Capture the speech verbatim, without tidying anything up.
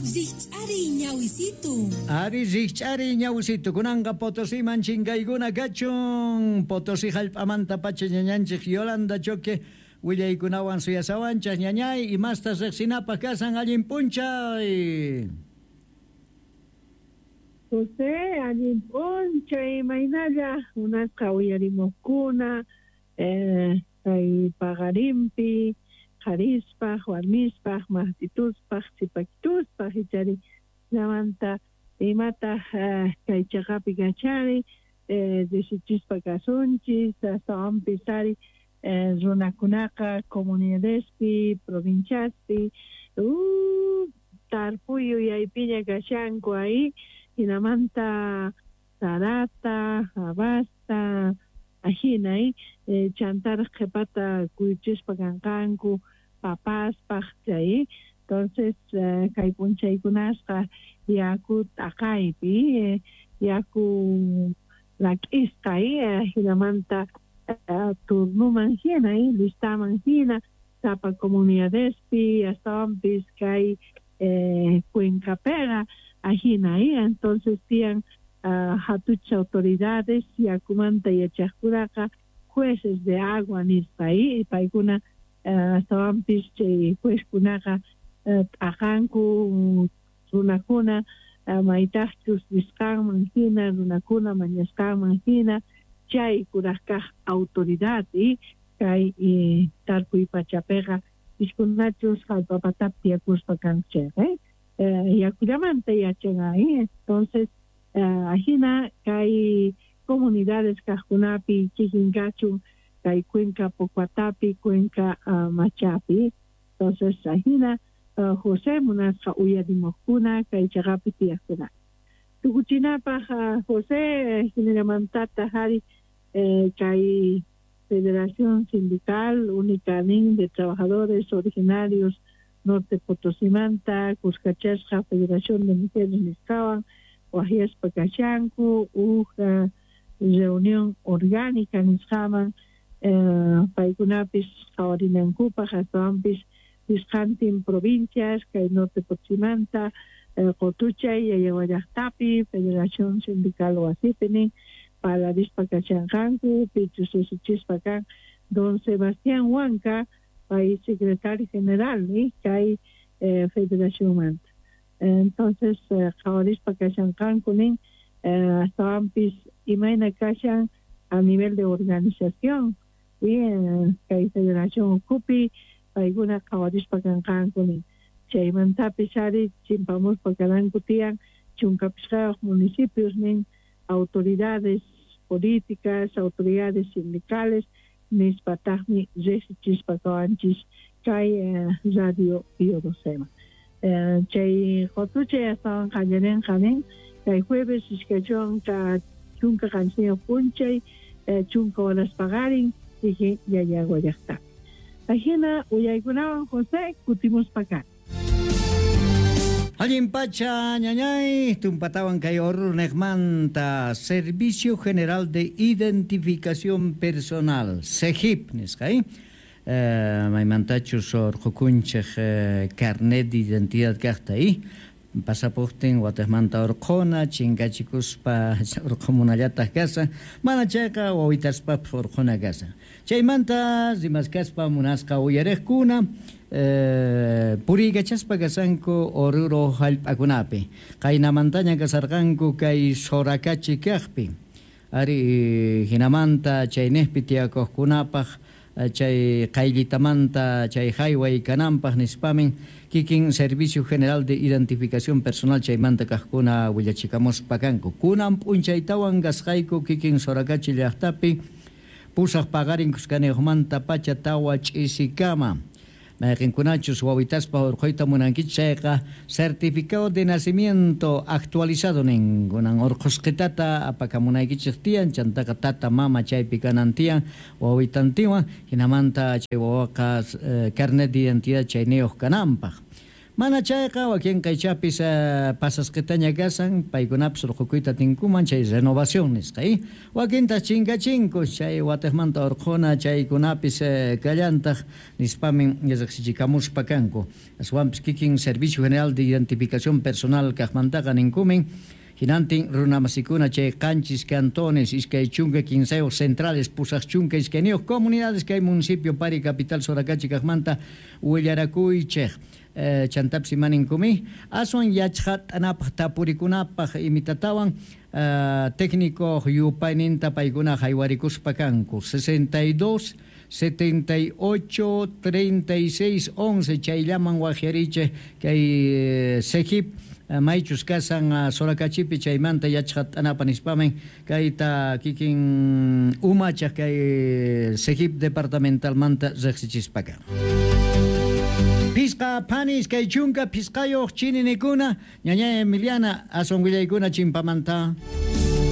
Rikch'ariy ñawisitu. Ari rikch'ariy ñawisitu kunanqa Potosiman chinkaykuna kachun. Potosí hallp'amanta pacha ñañanchik Yolanda Choque willaykunawan suyasawanchaq ñañay imastas riqsinapaq kasan allin p'unchay. José, allin p'unchay imaynalla munasqa uyarimuqkuna eh, kay paqarinpi qharispaq warmispaq maqtituspaq sipakituspaq ichari hinamanta imataq eh, kay chaqapi kachari eh, riqsichispa kasunchis astawanpis ari eh, runakunaqa comunidadespi provinciaspi uh, tarpuy yuyaypiña kashanku ahi hinamanta sarata, habasta, ajina eh, chantaraq qhipata kuyuchispa kanqanku papaspaq chay entonces eh, kay p'unchaykunasqa yaku t'aqaypi eh, yaku lak'isqa eh, hinamanta eh, turnuman hina eh, listaman hina sapa comunidadespi astawanpis kay eh, cuencapiqa ajina eh, entonces tiyan uh, hatucha autoridades yakumanta yachaqkunaqa jueces de agua nispa eh, paykuna uh, astawanpis chay juezkunaqa uh, t'aqanku runakuna uh, maytaqchus risqanman hina runakuna mañasqanman hina chay kuraq kaq autoridad eh, kay eh, tarpuy pachapiqa piskunachus hallp'a patapi tiyakuspa kanku chayqa eh, eh, yakullamanta yachan eh, entonces uh, ajina kay comunidades kaqkunapi kikin kachun kay cuenca Pocuatapi cuenca uh, Machapi entonces ajina uh, José munasqa uyarimuqkuna kay chaqapi tiyaqkuna tukuchinapaq uh, José hinallamantataq ari eh, kay Federación Sindical Única nin de Trabajadores Originarios Norte Potosimanta kuskachasqa Federación de Mujeres nisqawan waqyaspa kashanku huk uh, reunión orgánica nisqaman eh, paykunapis qhawarinankupaq astawanpis pisqantin provincias kay Norte Potosimanta eh, Qotuchay Yayagua llaqtapi Federación Sindical wasipi nin parlarispa kashanqanku pichus usuchispa kan don Sebastián Huanca pay secretario general eh, kay eh, federacionmanta entonces eh, qhawarispa kashanqanku nin eh, astawanpis imayna kashan a nivel de organización y eh, kay federación ukhupi paykuna qhawarispa kanqanku nin chaymantapis ari chimpamuspa karanku tiyan chunka pishqayuq municipios nin autoridades políticas, autoridades sindicales nispataqmi riqsichispa kawanchis kay eh, radio Pío Docema. Eh, chay qotuchay astawan qallarinqa nin kay jueves iskay chunka chunka qanchisniyuq p'unchay eh, chunka horas paqarin kikin Yayagua llaqtapi. Ajina uyaykunawan José kutimuspa kani. Allin pacha ñañay tumpatawan kay Oruro niqmanta Servicio General de Identificación Personal SEGIP nisqa eh eh, maymantachus urqukunchik eh, carnet de identidad kaqta eh pasapuqtin wataqmanta urquna chinkachikuspa urqumunallataq kasan mana chayqa wawitaspapas urquna kasan chaymanta rimaskaspa munasqa uyariqkuna eh, puriykachaspa kasanku Oruro hallp'akunapi qaynamantaña kasarqanku kay Soracachi kaqpi ari hinamanta chayniqpi tiyakuqkunapaq chay qayllitamanta chay hayway kananpaq nispamin kikin Servicio General de Identificación Personal chaymanta kaqkuna willachikamuspa kanku kunan p'unchaytawan kasqayku kikin Soracachi llaqtapi pusaq paqarin kuskaniyuqmanta pacha tawa ch'isikama mayqinkunachus wawitaspa urquyta munankichik chayqa certificado de nacimiento actualizado nin kunan urqusqitata apakamunaykichik tiyan chantaqa tata mama chaypi kanan tiyan wawitantinwan hinamanta chay wawaqa eh, carnet de identidad chayniyuq kananpaq Mana chayqa wakinqa ichapis uh, pasasqitaña kasan paykunapis urqukuyta tinkuman chay renovación nisqa y wakintaq chinkachinku chay watiqmanta urquna chaykunapis uh, kallantaq nispamin riqsichikamuspa kanku. Aswanpis kikin Servicio General de Identificación Personal kaqmantaqa ninkumin hinantin runamasikuna chay qanchis cantones iskay chunka kinsayuq centrales pusaq chunka iskayniyuq comunidades kay municipio Pari capital Soracachi kaqmanta willarakuychik. Eh, chantapis imaninkumi aswan yachqat'anapaq tapurikunapaq imitatawan uh, técnico yupayninta paykuna haywarikuspa kanku sesenta y dos setenta y ocho treinta y seis once chayllaman waqyarichik kay eh, SEGIP maychus kasan uh, Soracachipi chaymanta yachqat'anapa nispamin kayta kikin umachaq kay SEGIP departamentalmanta riqsichispaka. Pisqa panis kay chunka pisqayuq chininikuna ñaña Emiliana aswan willaykuna chimpamanta.